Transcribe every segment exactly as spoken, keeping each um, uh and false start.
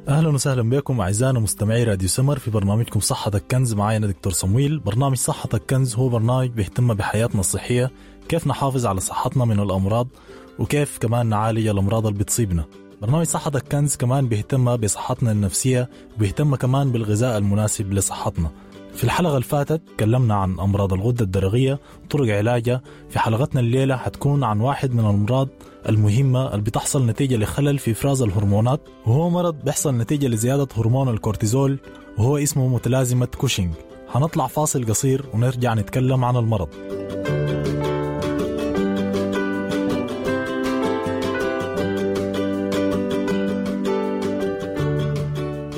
اهلا وسهلا بكم اعزائنا مستمعي راديو سمر في برنامجكم صحتك كنز. معايا دكتور صمويل. برنامج صحتك كنز هو برنامج بيهتم بحياتنا الصحية، كيف نحافظ على صحتنا من الامراض وكيف كمان نعالج الامراض اللي بتصيبنا. برنامج صحتك كنز كمان بيهتم بصحتنا النفسية وبيهتم كمان بالغذاء المناسب لصحتنا. في الحلقة اللي فاتت تكلمنا عن أمراض الغدة الدرقية وطرق علاجها. في حلقتنا الليلة حتكون عن واحد من الأمراض المهمة اللي بتحصل نتيجة لخلل في إفراز الهرمونات، وهو مرض بيحصل نتيجة لزيادة هرمون الكورتيزول، وهو اسمه متلازمة كوشينج. هنطلع فاصل قصير ونرجع نتكلم عن المرض.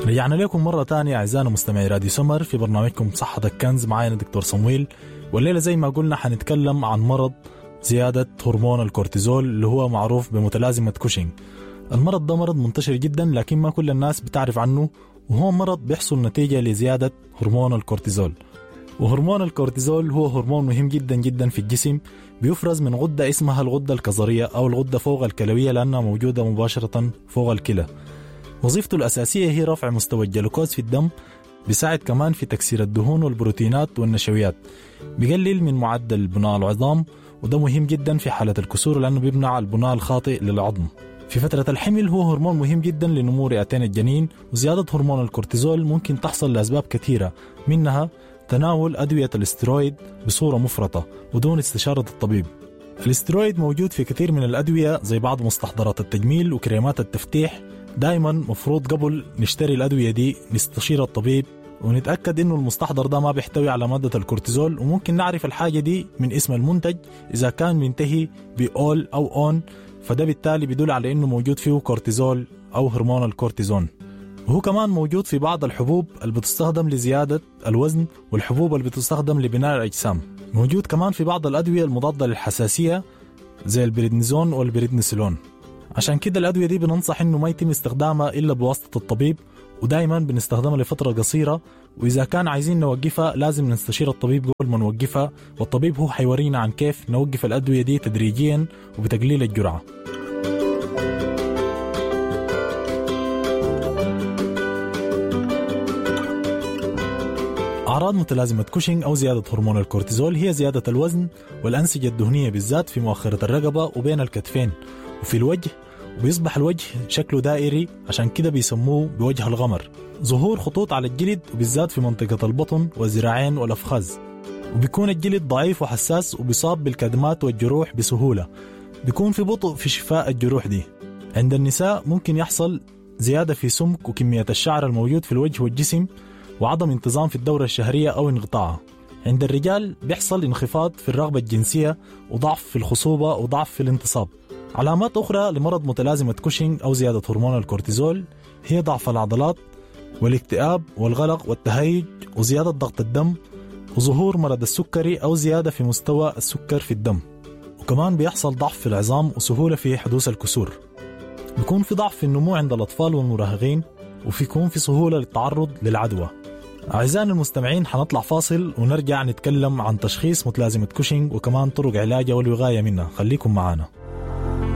رجعنا لكم مرة تانية أعزائنا مستمعي راديو سمر في برنامجكم صحتك كنز. معانا دكتور صمويل، والليلة زي ما قلنا حنتكلم عن مرض زيادة هرمون الكورتيزول اللي هو معروف بمتلازمة كوشينج. المرض ده مرض منتشر جدا لكن ما كل الناس بتعرف عنه، وهو مرض بيحصل نتيجة لزيادة هرمون الكورتيزول. وهرمون الكورتيزول هو هرمون مهم جدا جدا في الجسم، بيفرز من غدة اسمها الغدة الكظرية أو الغدة فوق الكلوية لأنها موجودة مباشرة فوق الكلى. وظيفته الأساسية هي رفع مستوى الجلوكوز في الدم، بيساعد كمان في تكسير الدهون والبروتينات والنشويات، بيقلل من معدل بناء العظام، وده مهم جدا في حالة الكسور لأنه بيمنع البناء الخاطئ للعظم. في فترة الحمل هو هرمون مهم جدا لنمو رئتين الجنين، وزيادة هرمون الكورتيزول ممكن تحصل لأسباب كثيرة، منها تناول أدوية الاسترويد بصورة مفرطة ودون استشارة الطبيب. الاسترويد موجود في كثير من الأدوية زي بعض مستحضرات التجميل وكريمات التفتيح. دائما مفروض قبل نشتري الأدوية دي نستشير الطبيب ونتأكد إنه المستحضر ده ما بيحتوي على مادة الكورتيزول، وممكن نعرف الحاجة دي من اسم المنتج إذا كان بينتهي بأول أو أون، فده بالتالي بيدل على إنه موجود فيه كورتيزول أو هرمون الكورتيزون. وهو كمان موجود في بعض الحبوب اللي بتستخدم لزيادة الوزن والحبوب اللي بتستخدم لبناء الأجسام. موجود كمان في بعض الأدوية المضادة للحساسية زي البريدنيزون والبريدنيسولون. عشان كده الأدوية دي بننصح إنه ما يتم استخدامها إلا بواسطة الطبيب، ودايما بنستخدمها لفترة قصيرة، وإذا كان عايزين نوقفها لازم نستشير الطبيب قبل ما نوقفها، والطبيب هو حيورينا عن كيف نوقف الأدوية دي تدريجيا وبتقليل الجرعة. أعراض متلازمة كوشينج أو زيادة هرمون الكورتيزول هي زيادة الوزن والأنسجة الدهنية بالذات في مؤخرة الرقبة وبين الكتفين وفي الوجه، وبيصبح الوجه شكله دائري عشان كده بيسموه بوجه الغمر. ظهور خطوط على الجلد وبالذات في منطقة البطن والذراعين والأفخاذ، وبيكون الجلد ضعيف وحساس وبيصاب بالكدمات والجروح بسهولة. بيكون في بطء في شفاء الجروح دي. عند النساء ممكن يحصل زيادة في سمك وكمية الشعر الموجود في الوجه والجسم، وعدم انتظام في الدورة الشهرية أو انقطاعها. عند الرجال بيحصل انخفاض في الرغبة الجنسية وضعف في الخصوبة وضعف في الانتصاب. علامات أخرى لمرض متلازمة كوشينج أو زيادة هرمون الكورتيزول هي ضعف العضلات والاكتئاب والقلق والتهيج وزيادة ضغط الدم وظهور مرض السكري أو زيادة في مستوى السكر في الدم، وكمان بيحصل ضعف في العظام وسهولة في حدوث الكسور. بيكون في ضعف في النمو عند الأطفال والمراهقين، وفي يكون في سهولة للتعرض للعدوى. أعزائنا المستمعين حنطلع فاصل ونرجع نتكلم عن تشخيص متلازمة كوشينج وكمان طرق علاجها والوقاية منها. خليكم معنا.